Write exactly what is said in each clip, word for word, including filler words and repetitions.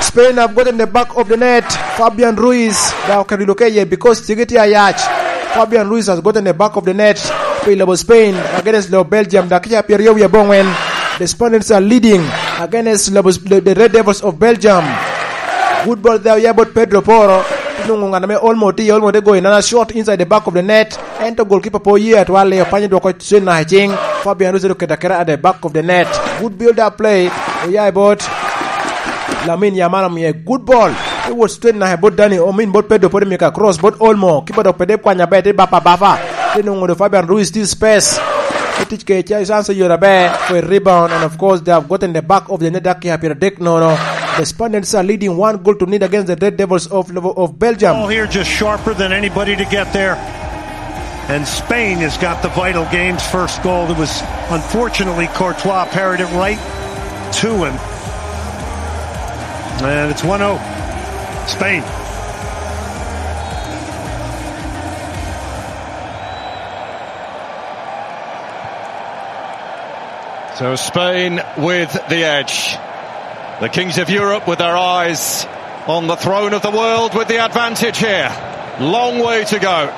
Spain have gotten the back of the net. Fabian Ruiz, they are Carrillo Keye because Tigiti Ayach. Fabian Ruiz has gotten the back of the net. Pi lobo Spain against lobo Belgium, dakika pyeraryo wie abongwen. The Spaniards are leading against lobo, the, the Red Devils of Belgium. Good ball there, yeah, but Pedro Porro. Nungo ngana me Olmo ti, Olmo te goyo nana shot inside the back of the net. Ento goalkeeper po oye atwal, opanyo dwoko cen naka i cing. Fabian Ruiz oketo aketa at the back of the net. Good build up play. Oya i bot Lamine Yamal, omiye good ball. Te wot straight naka i bot Dani, omin bot Pedro, pwod omiyo ka cross bot Olmo. Kipa dok pede kwanya ber, te bapa bapa. Te nwoŋo do Fabian Ruiz tye space. Te tic kede chance yot aber for a rebound, and of course they have gotten the back of the net, dakika pyeradek nono. The Spaniards are leading one goal to nil against the Red Devils of, of Belgium. Ball here just sharper than anybody to get there. And Spain has got the vital game's first goal. It was, unfortunately, Courtois parried it right to him. And it's one oh. Spain. So Spain with the edge. The kings of Europe with their eyes on the throne of the world with the advantage here. Long way to go.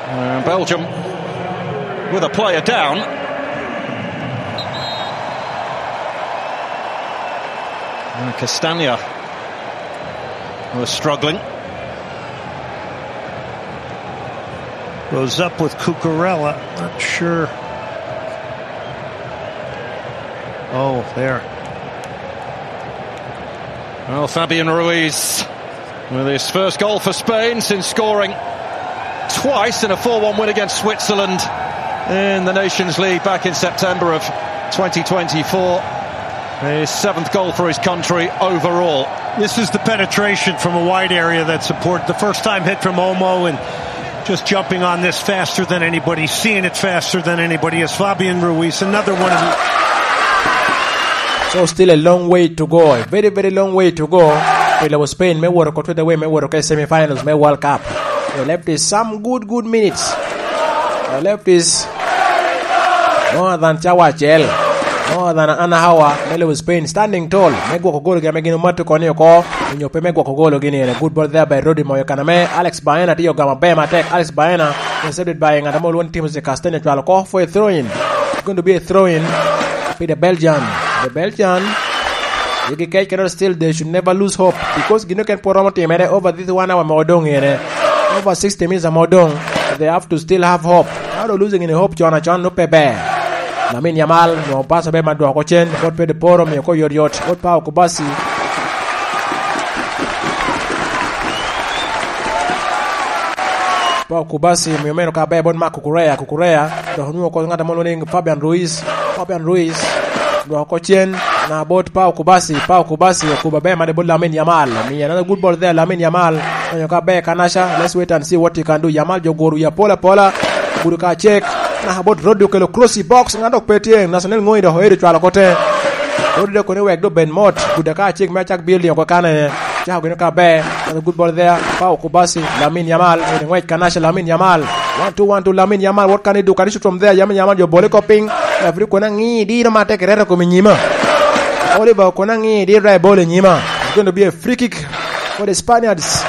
Uh, Belgium with a player down. Uh, Castagna was struggling. Goes up with Cucurella. Not sure. Oh, there. Well, Fabian Ruiz with his first goal for Spain since scoring twice in a four one win against Switzerland in the Nations League back in September of twenty twenty-four. His seventh goal for his country overall. This is the penetration from a wide area that support. The first time hit from Olmo and just jumping on this faster than anybody, seeing it faster than anybody is Fabian Ruiz, another one of the... So still a long way to go, a very, very long way to go. Pi lobo Spain me wot oko, twede away me wot oko i semifinals me World Cup. They left is some good, good minutes. They left is more than cawa acel, more than an hour, me lobo Spain standing tall me gwoko gologi ame gin omato koni oko, onyo pe me gwoko gologi ni. En a good ball there by Rodri, moyo kana me Alex Baena, tye ogamo aber matek. Alex Baena intercepted by ngat ame olwongo ni Timothy Castagne, cwalo oko for a throw in. It's going to be a throw in pi the Belgian. The Belgian, yigi kec kede still they should never lose hope, because gin oken pwod romo timere over this one hour ame odong ene. Over sixty minutes ame odong, they have to still have hope. How do losing in hope con acon no pe ber. Lamine Yamal nwoŋo pass aber ma dwoko cen, bot Pedro Porro, miyo ko yot yot, bot Pau Kubasi. Pau Kubasi miyo meno ka ber bot Marc Cucurella, Cucurella, dok onwoŋo ko ŋat amo lwongo ni Fabian Ruiz. Fabian Ruiz dwoko cen na bot Pau Kubasi. Pau Kubasi okubo aber made bot Lamine Yamal. Omiyo another good ball there, Lamine Yamal. Onyo ka ber Kanacha, let's wait and see what he can do. Yamal jo guro ya pola pola. Gudo ka cek. Na bot Rodri okelo cross i box, ŋat dok pe tye. Nathaniel Ngoi dok oero cwalo kote. Rodri dok koni wek do ben mot. Gudo ka cek me acak building oko kane. Cako gini ka ber. Another good ball there. Pau Kubasi, Lamine Yamal. Ngwec Kanacha, Lamine Yamal. One two, one two, Lamine Yamal. What can he do? Can he shoot from there? Lamine Yamal jo bole ko piny. Referee kono aŋi diro matek, reto kom i nyima. Oliver kono aŋi diro dok ebolo i nyima. It's going to be a free kick for the Spaniards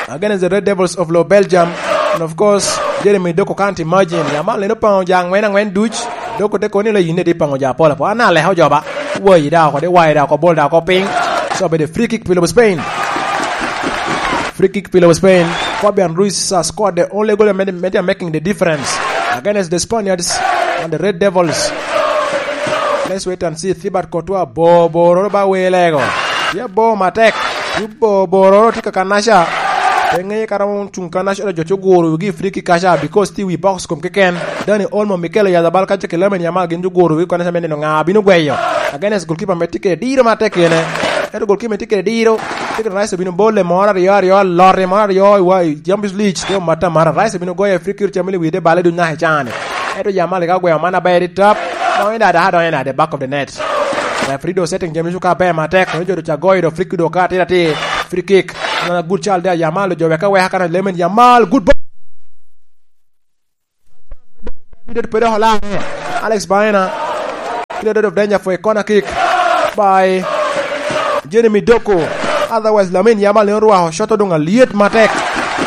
against the Red Devils of Lo Belgium. And of course, Jeremy Doku can't imagine. Yamal neno paŋo jo aŋwen aŋwen duc. Doku te kono ni la yin edi paŋo jo apol apol. An aleko joba. Wayi da oko, de wayi da oko, bol da oko piny. So, obedo free kick pi lobo Spain. Free kick pi lobo Spain. Fabian Ruiz has scored the only goal that made, made him making the difference against the Spaniards and the Red Devils. Let's wait and see. Thibaut Courtois, bo, bo, roro ba welego. Tye bo matek. Tye bo, bo, roro tye ka Kanacha. Pe ŋeye ka romo cuŋ Kanacha, jo coguro wigi free kick kacha because tye wi box kom keken. Dani Olmo, Mikel Oyarzabal kaca ki Lamine Yamal gin joguro wigi Kanacha me neno ŋa bino gweyo. Against goalkeeper me tye kede diro matek kene. Ento goalkeeper me tye kede diro. Tye kede Rice obino bole moro aryo aryo, alot moro aryo i wa-, i Champions League. Tye omata mara. Rice obino goyo free kick, camili wide bale duny naka i cani. Ento Yamal ka ogweyo man aber i tap. Donyo da, da, donyo da, the back of the net. Referee do setting jami cuka aber matek. Donyo jo do ca goyo do free kick do ka atir atir. Free kick. Na good child there, Yamal jo weka weka kana Lamine Yamal. Good ball. Alex Baena. Cleared out of danger for a corner kick by Jeremy Doku. Otherwise, Lamine Yamal ne orwako shot odoŋ alyet matek.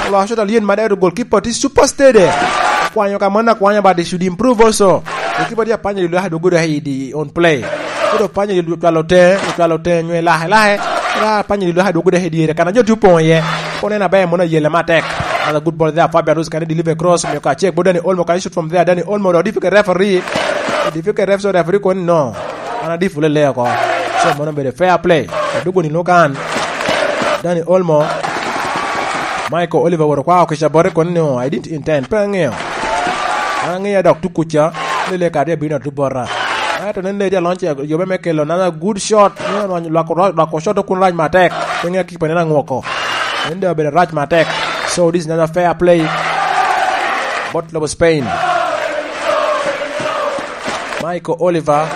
Orwako shot alyet matek, to goalkeeper tye super steady. Okwanyo ka mano akwanya, but he should improve also. Goalkeeper tye apanya dilo aka dwogo dok i di on play. Koro panya dilo cwalo te, cwalo te nyo ilake lake. Ra panya dilo aka dwogo dok i dyere. Kana jo tye opoŋ iye. Kono en aber mono ayele matek. Another good ball there, Fabian Ruiz can deliver cross. Miyo ka check, but Dani Olmo can shoot from there. Dani Olmo, the difficult referee. The difficult referee, so referee kono no. An adifo lele oko. So, mono obedo fair play. Adugo ni lukan. Dani Olmo. Michael Oliver woro kwa okica bote kono ni, "Oh, I didn't intend." Pe aŋeo. An aŋeo dok tukuca. Lele kadi abino atu bota. Ato nen lady alonce yobe me kelo another good shot. Ni lwak, lwak, lwak shot okun rac matek. Pe ŋeo kipa neno aŋwoko. Nen de obedo rac matek. So this is another fair play. Bot lobo Spain. Michael Oliver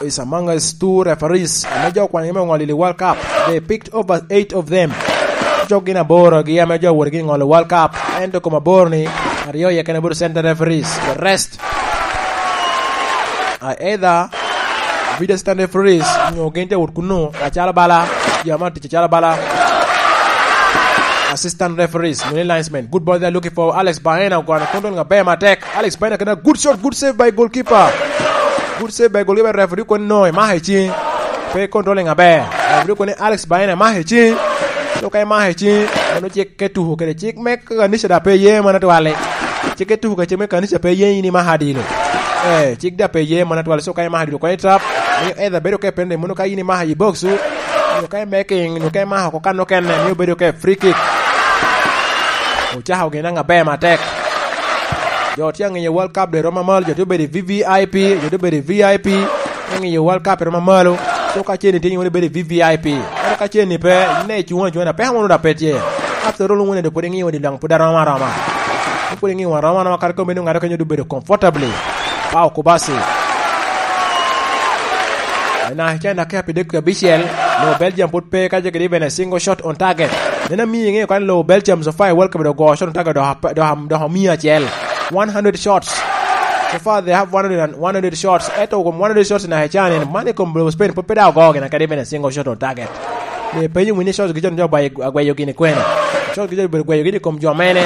is among us two referees. Ame jo kwangi me oŋolo i World Cup. They picked over eight of them. Cok gin aboro gi ame jo wot gi ŋolo World Cup. Ento kom aboro ni aryo iye kene obedo center referees. The rest are either video assistant referees, nyo gin te wot kunu, acalo bala, jo ame tic acalo bala, assistant referees, mini linesmen. Good ball, they're looking for Alex Baena, ogono control nga ber matek. Alex Baena kena good shot, good save by goalkeeper. Good save by goalkeeper, referee kono no, emako i ciŋ. Pe control nga ber. Referee kono ni Alex Baena emako i ciŋ. So ka emako i ciŋ, mano cik ke tuko kede cik me kanisa da pe ye mana twali. Cik ke tuko kede cik me kanisa pe ye in imako adilo. Eh, cik da pe ye mana twali. So ka imako adilo kono itap. Miyo either bedo ke penalty mono ka in imako i box. Nyo ka imaking, nyo ka imako oko kan okene, miyo bedo ke free kick. Ocako gin aŋa ber matek. Jo tye aŋiyo World Cup de romo mal, jo tye obedo i V V I P, jo tye obedo i V I P, aŋiyo World Cup romo malo. So ka ceni tye iwinyo bedo i V V I P. Ento ka ceni pe, ne cuŋ acuŋa, peko mono da pe tye. After all, wun ento pwod iŋiyo ni daŋ pwod aromo aroma. Pwod iŋiyo aroma aroma, kare kombeddi ŋato kenyo obedo comfortably. Pao Kubasi. Ena, China ke pi dek abicel, no Belgium pwod pe ka jegede even a single shot on target. Nena mi iŋeyo kan lo Belgium so far i World Cup do go shot on target do, do, do, do mia acel. One hundred shots. So far they have one hundred and, one hundred shots. Eto kom one hundred shots na hechan en, mane kom lo Spain pwod pe da ogo gina kadi even a single shot on target. Me penyo wini shots gi jo jo agwayo gini kwene. Shots gi jo gwayo gini kom jo mene.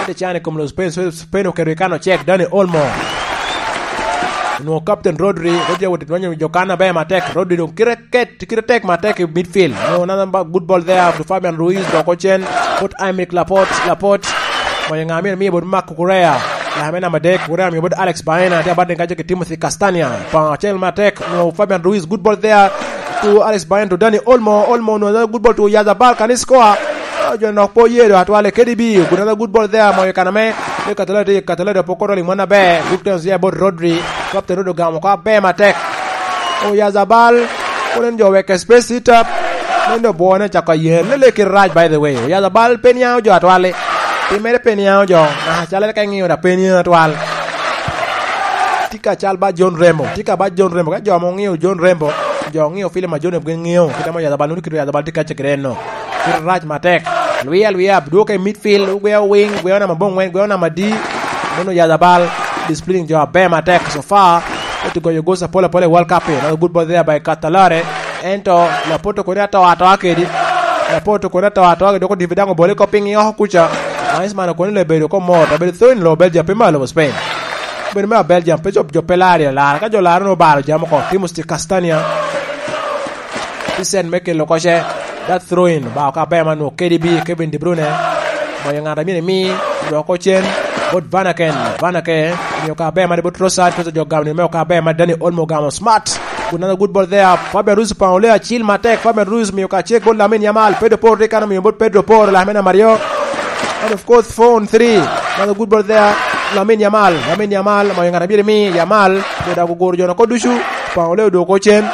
Ate chan i kom lo Spain, so Spain oketo i kano check Dani Olmo. Onwoŋo Captain Rodri, Rodri awot i dwonyo jo kan aber matek. Rodri doŋ kite ket, kite tek matek i midfield. No, another ba-, good ball there to Fabian Ruiz, doko cen, put Aymeric Laporte, Laporte. Moyo ŋa myero miyo bot Marc Cucurella. Lame namba adek, Cucurella miyo bot Alex Baena, tye abat ka jo ki Timothy Castagna. Pang acel matek, no, Fabian Ruiz, good ball there to Alex Baena to Dani Olmo, Olmo, no, another good ball to Oyarzabal, can he score? Ah, jo nok po ye do atwale, K D B, another good ball there, moyo kana me, me Catalado, Catalado, poko rolling mwana be, good turns there, bot Rodri, Captain Rodri ogamo ko aber matek. Oyarzabal, kono en jo weke space i tap, en do bwone cako yen, lele kite rac, by the way. Oyarzabal pe niaŋo jo atwali, pi mere pe niaŋo jo, ah, calo ka iŋiyo da pe niaŋo atwal. Tye ka cal ba John Rembo, tye ka ba John Rembo, ka jo mo ŋiyo John Rembo, jo ŋiyo film a John Rembo gin ŋiyo, kite mo Oyarzabal, nwoŋo kite Oyarzabal tye ka cegere no. Kite rac matek. Lwi alwia, dwogo i midfield, ogweo wing, gweo namba aboŋwen, gweo namba adi. Meno Oyarzabal, disciplining jo aber matek. So far, oti goyo goals apol apol i World Cup, another good ball there by Catalare. Ento, Laporte koni ato atoa kedi. Laporte koni ato atoa kedi, doko divi daŋ obole ko piny oko kuca. Ismail koni le bedo ko mor, abedo thon lo Belgium, pe malo Spain. Bedo me Belgium, pe jo, jo pe lari alara. Ka jo laro no baro jam oko, Timothy Castagna. Isen me kelo koce. That throw in, ba ka ber ma nwo K D B, Kevin De Bruyne. Moyo ŋat a myero imi, dwoko cen. Bot Van Aken, Van Aken. Miyo ka ber ma bot Trossard, Trossard jo gamo ni me ka ber ma Dani Olmo gamo smart. Another good ball there. Fabian Ruiz pang ole acil matek. Fabian Ruiz miyo ka check bot Lamine Yamal. Pedro Porro rik ano miyo bot Pedro Porro, Lamine Mario. And of course, four on three. Another good ball there. Lamine Yamal, Lamine Yamal. Moyo ŋat a myero imi, Yamal. Miyo da guguro jo no ko ducu. Pang ole odwoko cen.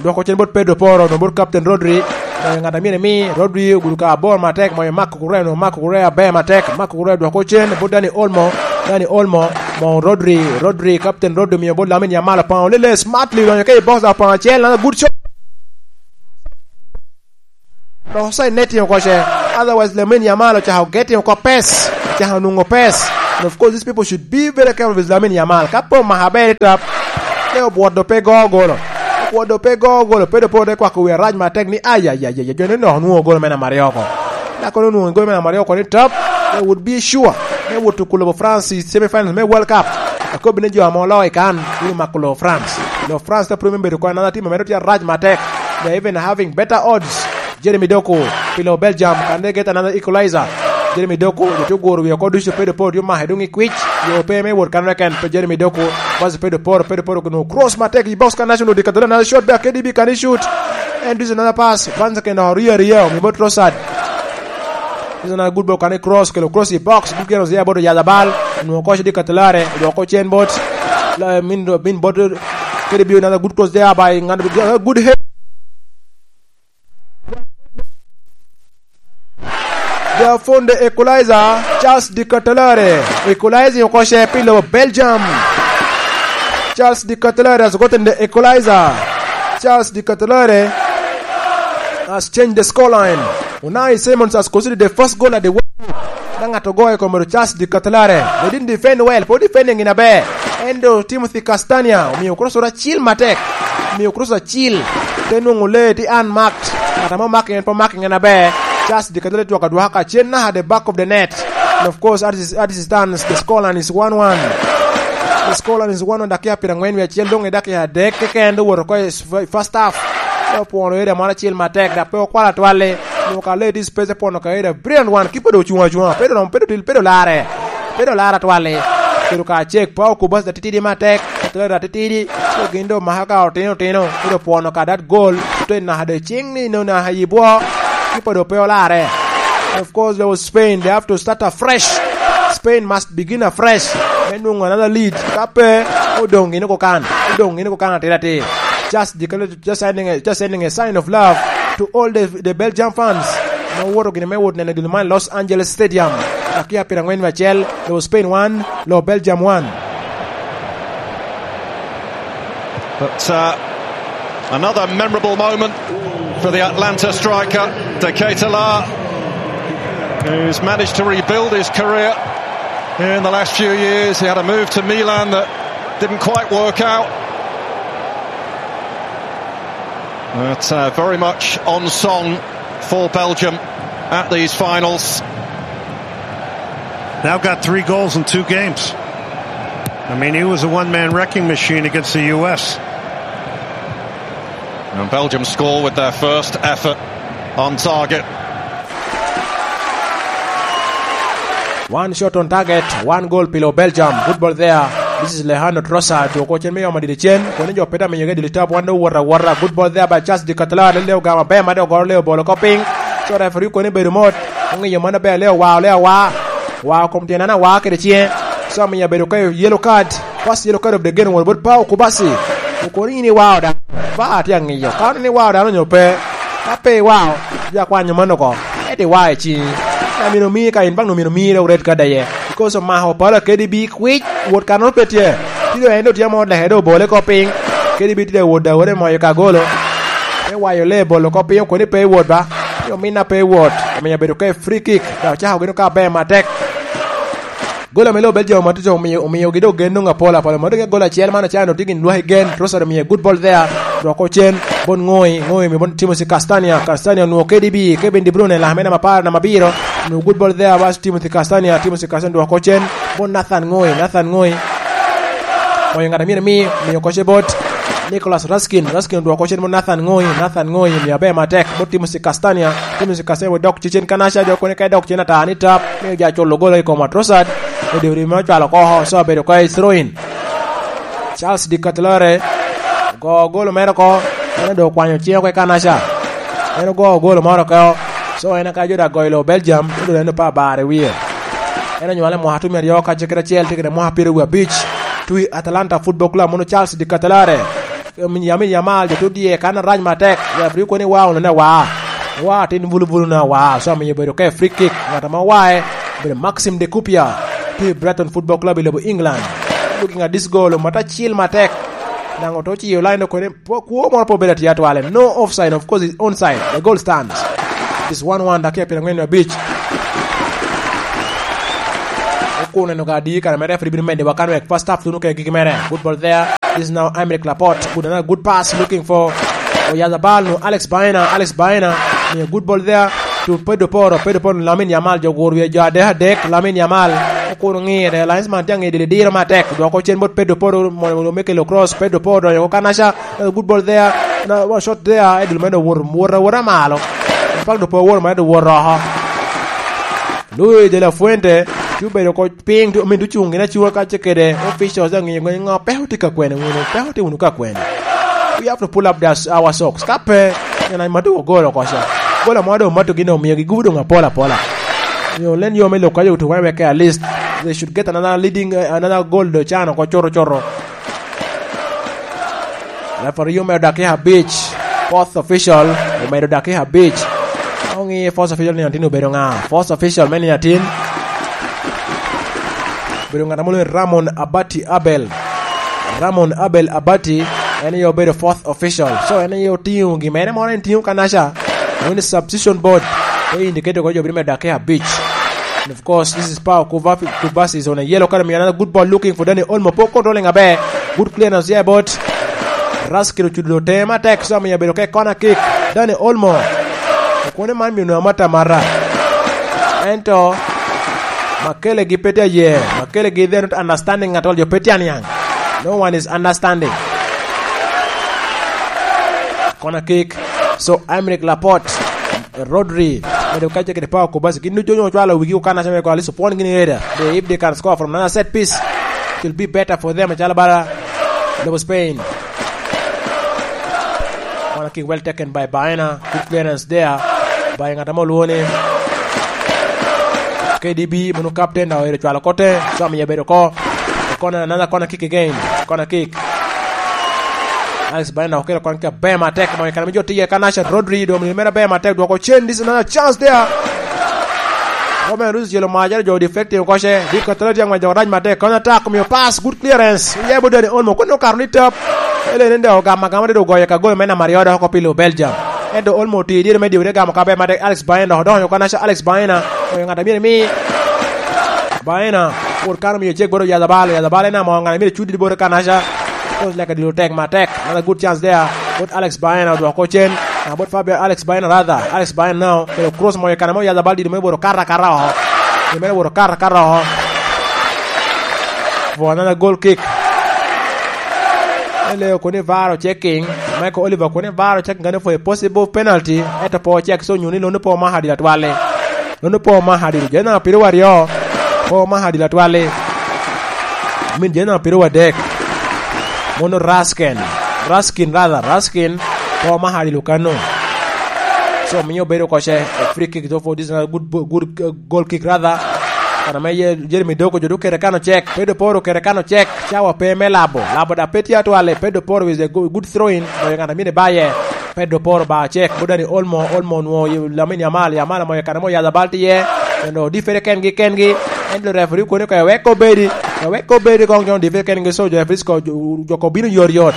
Dwoko cen bot Pedro Porro, no bot Captain Rodri. Moyo ŋat a myero imi, Rodri ogudo ka abor matek, moyo Marc Cucurella, no Marc Cucurella aber matek, Marc Cucurella dwoko cen bot Dani Olmo, Dani Olmo, mo Rodri, Rodri, Captain Rodri miyo bot Lamine Yamal, opao lele smartly, donyo ke i box, opao acel, another good shot. Dok offside netting oko ce, otherwise Lamine Yamal ocako getting oko pace, ocako nwoŋo pace. And of course, these people should be very careful with Lamine Yamal. Ka pe omako aber i tap, te obwot do pe go golo. Obwot do pe go golo, pe do pe ote kwako wie arac matek ni, "Ai, ai, ai, ai, jo ni nok onwoŋo golo me namba aryo oko." Dako ni onwoŋo golo me namba aryo oko ni tap, they would be sure me wot tuko lobo France i semifinals me World Cup. Akobi ni jo ame oloo i kan, bino mako lobo France. Lobo France te pwod me bedo kong another team ame tye arac matek. They are even having better odds. Jeremy Doku, pilo Belgium, kan they get another equalizer. Jeremy Doku, jo tye oguro wie oko ducu, pe do pe otye omako i doŋ i kwic, yo pe me wot kan reken, pe Jeremy Doku, bas pe do poro, pe do poro, no cross matek i box kan national di kadhola another shot back, K D B, can he shoot? And this is another pass, Van Zeken orio aria, omi bot Trossard. This is another good ball, kan cross, kelo cross i box, good game, Zia bot Yazabal, no coach di Katalare, dwoko cen bot, la, min, min bot, K D B, another good cross there by, good head. They have found the equalizer, Charles de Ketelaere. Equalizing oko ce pi lobo Belgium. Charles de Ketelaere has gotten the equalizer. Charles de Ketelaere has changed the scoreline. Unai Simons has conceded the first goal at the World Cup. Daŋ ŋat ogoyo i kome Charles de Ketelaere. They didn't defend well, pwod defending in aber. Ento Timothy Castagne omio cross acil matek. Omio cross acil. Te nwoŋo lee tye unmarked. Ŋat ame omako en pe omako en aber. Charles de Ketelaere twak adwaka ka cen naka the back of the net. And of course, as it, as it stands, the scoreline is one one. The scoreline is one one, dakiya pyerangwen wie acel, doŋ i dakiya adek keken doŋ owoto oko i f-, first half. Te opwono area moro acel matek, dok pe okwalo atwal-li. Onwoŋo ka lee tye i space, te pwono ka area brilliant one, keeper doŋ ocuŋ acuŋa, pe doŋ, pe doŋ, pe doŋ larre. Pe doŋ larre atwal-li. Obedo ka cek, Pau Cubarsí atitidi matek, Atlanta atitidi, so gin doŋ omako ka otino otino, pe doŋ pwono ka that goal, ote naka doŋ ciŋ ni naka i bwo, keeper doŋ pe olarre. Of course, there was Spain, they have to start afresh. Spain must begin afresh. Me nwoŋo another lead, ka pe, odoŋ gin oko kan, odoŋ gin oko kan atir atir. Just declare, just sending a, just sending a sign of love to all the, the Belgium fans. Ma owoto gini me wot neno dul man Los Angeles Stadium. Dakiya pyerangwen wie acel, lo Spain one, lo Belgium one. But, uh, another memorable moment for the Atlanta striker, De Ketelaere, who's managed to rebuild his career in the last few years. He had a move to Milan that didn't quite work out. But, uh, very much on song for Belgium at these finals. Now got three goals in two games. I mean, he was a one-man wrecking machine against the U S. And Belgium score with their first effort on target. One shot on target, one goal below Belgium. Good ball there. This is Leandro Trossard. Dwoko cen me yom adidi cen. Koni jo peta miyo ge dili tap, wan do wota wota. Good ball there by Charles de Ketelaere. Leo gama ber ma de ogoro leo bolo ko piny. So referee koni bedo mot. Ongiyo mano ber, leo wa, leo wa. Wa kom tyen ana wa kede cien. So miyo bedo ka yellow card. First yellow card of the game, won bot Pau Cubarsí. Okoni in iwao dano. Ba atye angiyo. Ka ni iwao dano nyo pe. Ka pe iwao, ja kwanyo mano ko. Eti wa i ciŋi. Amino mi ka in bang no mino mi red card aye. Because omako pala K D B kwic, wot kanoro pe tye. Tye en do tye mo leke do bole ko piny. K D B tye wot da wore moyo ka golo. Me wayo le bolo ko piny, okoni pe wot ba. Yo minna pe wot. Omiyo bedo ke free kick. Da ocako gino ka ber matek. Gola me lobo Belgium matuco omio-, omiogi dok gen nwoŋo apol apol. Mano gin gola acel man ocano tye gin lwaki gen. Trossard omio good ball there. Dwoko cen. Bon Ngoi. Ngoi omio bon Timothy Castagne. Castagne onwoŋo K D B. Kevin De Bruyne, lame namba apar, namba abiro. Onwoŋo good ball there. Bas Timothy Castagne. Timothy Castagne dwoko cen. Bon Nathan Ngoi. Nathan Ngoi. Moyo ŋat a myero mi. Miyo koce bot Nicolas Raskin. Raskin dwoko cen bot Nathan Ngoi. Nathan Ngoi omio aber matek. Bot Timothy Castagne. Timothy Castagne dok cicen kanaca jo kone ka dok cen ata ni tap. Miyo ja culo golo i kom Trossard. Odi odi me ocwalo oko, so abedo ka i throw-in. Charles de Ketelaere ogo golo mere oko, en dok okwanyo cing oko i kanaca. En ogo golo moro oko, so en aka jo dok goyo lo Belgium, odo en opa bar i wie. En onywale mwaka tumi aryo kacel kede acel, tye kede mwaka pyeraryo wiye abic. Twi Atalanta Football Club, mono Charles de Ketelaere. Lamine Yamal, jo tye odye kan arac matek. Referee kono ni wa, onene wa. Wa, tin bulu bulu na wa. So, omiyo obedo ka free kick. Ŋat ame owae, obedo Maxim de Cupia. Tye i Brighton Football Club i lobo England. Looking at this goal, omata acil matek. Daŋ oto ciyo line okone, po-, kwo moro pe obedo atye atwale. No offside, of course, it's onside. The goal stands. It's one one, dakika pyerangwen wiye abic. Oneno ka adi kare mere referee bino medo wa kan wek first half tuno kede gigi mere. Good ball there. This is now Aymeric Laporte. Good, another good pass looking for Oyazabal, no, Alex Baena, Alex Baena. Miyo good ball there to Pedro Porro. Pedro Porro, Lamine Yamal, jo gur wie jo adek adek, Lamine Yamal. Okuno ngire, linesman tye ang'e diri diro matek. Dwoko cen bot Pedro Porro, mo, mo, me kelo cross, Pedro Porro, donyo ko Kanacha. Another good ball there. Na, one shot there. Edul medo wot, wot, wot malo. Pak do po wot, medo wot oko. Luis de la Fuente, tye obedo oko piny, tye, omin tye ocung gin acunga kacce kede officials, aŋeo ni ŋo pe otye ka kwene wunu, pe otye wunu ka kwene. We have to pull up the, our socks. Ka pe, nyen an matuko gol oko ca. Gol amo doŋ matugi doŋ omiogi gubo doŋ apol apola. You know, len yo me lok ka yo to wek at least they should get another leading, uh, another goal do can oko coro coro. Referee omedo dakika abic. Fourth official omedo dakika abic. Oŋi fourth official ni atin obedo ŋa? Fourth official me ni atin obedo ŋat amo lwongo Ramon Abati Abel. Ramon Abel Abati, en aye obedo fourth official. So, en aye otiŋo gin mere moro, en tiŋo Kanacha. Woni substitution board, e indicate ko jo bino medo dakika abic. And of course, this is Pau Kuvafi-, Kubasi is on a yellow card. Another good ball looking for Dani Olmo. Poor controlling aber. Good clearance there, but Raskil ocudo tee matek, so omiyo obedo ka i corner kick. Dani Olmo. Okone man mino amata mara. Ento, Makele gi pe tye aye. Makele gi, they're not understanding at all. Jo pe tye aniang. No one is understanding. Corner kick. So, Aymeric Laporte, Rodri, medo kacce kede Pau Kubasi. Gin ducu onyo ocwalo wigi okana came kwa, at least opwon gini area. They, if they can score from another set piece, it will be better for them. Acalo bala lobo Spain. Corner kick well taken by Baena. Good clearance there. By ŋat amo lwone. K D B, mano captain, now ero cwalo kote. So, amiye bedo ko. Corner, another corner kick again. Corner kick. Alex Baena okelo kwan ka ber matek, moyo kan me jo tiye ka Nasha Rodri, do mino mera ber matek, dwoko cen, this is another chance there. Roman Rus jelo maja, jo deflecting koche, di katala tiang ma jo raj matek, kona tak, miyo pass, good clearance. Yebo Dani Olmo, kuno karo ni tap. Ele nende ogama gama de ogoyo ka gol me namba aryo dok oko pilo Belgium. Ento Olmo ti dire me diwre gamo ka ber matek, Alex Baena, dok donyo ka Nasha Alex Baena, oyo ngata myero mi. Baena, kur kano miyo cek boro Yazabal, Yazabal en amo ngata myero cudi boro ka Nasha. Coach leka dilo tek matek. Another good chance there. But Alex Baena odwoko cen. Ah, but Fabio Alex Baena rather. Alex Baena now. Pero cross moyo kana mo Yazabal dilo me boro kara kara oho. Dilo me boro kara kara oho. For another goal kick. Ele kuni varo checking. Michael Oliver kuni varo checking gane for a possible penalty. Eto po check so nyuni lonu po mahadi la twale. Nono po mahadil, jena piro waryo, po mahadil atwali. Min jena piro wadek. Mono Raskin, Raskin rather, Raskin, po mahadil okano. So, miyo bedo koce, a free kick, so for this is a good, good, uh, goal kick rather. Kana me ye, Jeremy Doku, jodu kere kano check, Pedro Poro kere kano check, cawa pe me labo, labo da pe tye atwali, Pedro Poro is a good, good throw in, oyo ngata mine baye. Pedro Poro ba cek, but Dani Olmo, Olmo onwoŋo Lamine Yamal, Yamal omoyo kare mo Yazabal tye iye, ento difere kengi, kengi, ento referee koni ka ewek obedi, ewek obedi kong jo difere kengi, so jo referee ko, jo, jo ko bino yot yot.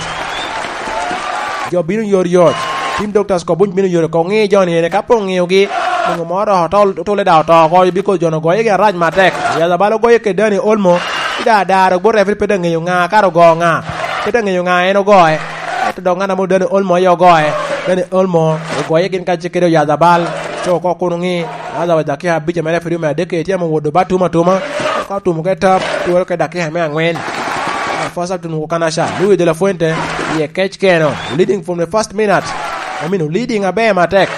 Jo bino yot yot. Team doctors ko buny bino yot, ko ŋi jo ni ene, ka po ŋiyogi, onwoŋo moro oto, otole da oto oko, biko jo no goyogi arac matek. Yazabal ogoyo kede Dani Olmo, ida daro, but referee pe da ŋeyo ŋa, kara ogo ŋa. Pe da ŋeyo ŋa en ogoye. Ento dok ŋat amo Dani Olmo aye ogoye. Dani Olmo ogoye gin kacel kede Oyazabal. Co oko kun oŋi, otherwise dakika abic ame referee me adek tye ame owodo ba tum atuma. Ka otum oke tap, twero ke dakika me aŋwen. First half tuno Kanacha, Luis de la Fuente, iye kec keno, leading from the first minute. I mean, leading aber matek.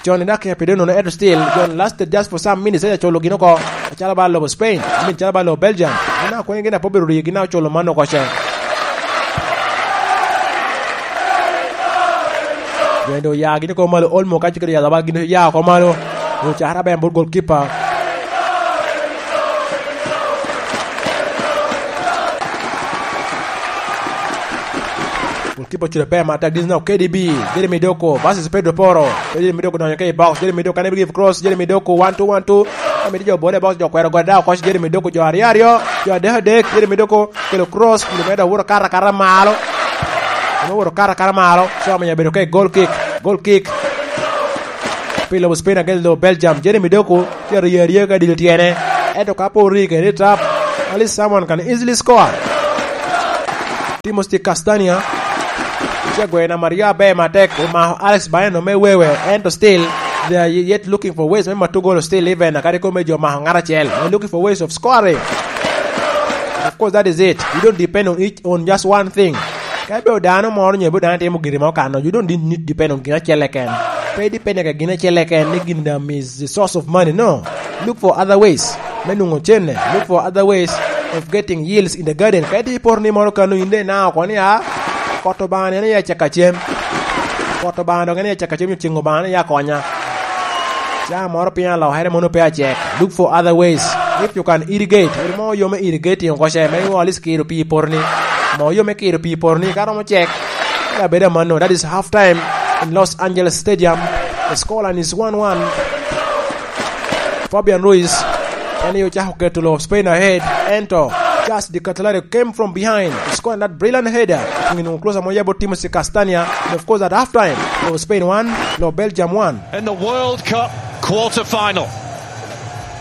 Con i dakika pire nono, ento still, John lasted just for some minutes, ento culo gin oko. Acalo ba lobo Spain, I mean, calo ba lobo Belgium. Gin a kwene gin a pe obedo rii, gin a oculo man oko ce. Gin do ya gin oko malo, Olmo ka cikere ya ba gin ya oko malo. Yo cara ben bot goalkeeper. Goalkeeper oculo ber matek, this is now K D B, Jeremy Doku versus Pedro Poro. Jeremy Doku donyo ke i box, Jeremy Doku, can he give cross, Jeremy Doku, one two, one two. Amito jo bole box, jo kwero gode dao koc, Jeremy Doku, jo aryo aryo, jo adek adek, Jeremy Doku, kelo cross, kelo medo awuro kara kara malo. Ame awuro kara kara malo, so amiyo bedo ke goal kick, goal kick. Pi lobo Spain against lobo Belgium, Jeremy Doku, tye aryo aryo ka dilo tyene. Ento ka pe ori kede i trap, at least someone can easily score. Timothy Castagna, ce gweyo namba aryo aber matek, omako Alex Baeno me wewe, ento still, they are yet looking for ways me mato golo still even, kadi kome jo mako ngat acel. They're looking for ways of scoring. Of course, that is it. You don't depend on each, on just one thing. Ka ibedo dano moro nyo ibedo dano timo giri mo kano, you don't need depend on gin acel keken. Pe depend ka gin acel keken ni gin dam is the source of money. No. Look for other ways me nwoŋo cene. Look for other ways of getting yields in the garden. Ka itye i poto ni moro kano, in de inao oko ni, "Ah, kot Obaŋa ni en aye acaka cem. Kot Obaŋa dok en aye acaka cem, nyo ceŋ Obaŋa ni aye akonya." Caa moro piny alokere mono pe acek. Look for other ways. If you can irrigate, iri mo yo me irrigating oko ce, me iŋo at least kiro pii i poto ni. Mo yo me kiro pii i poto ni, ka romo cek. Ka bedo amanno, that is half time in Los Angeles Stadium. The scoreline is one one. Fabian Ruiz, en aye ocako keto lo Spain ahead, ento Charles de Ketelaere came from behind to score that brilliant header. Onwoŋo close amo yabo Timothy Castagna. And of course, at half time, lo Spain one, lo Belgium one. In the World Cup quarter-final.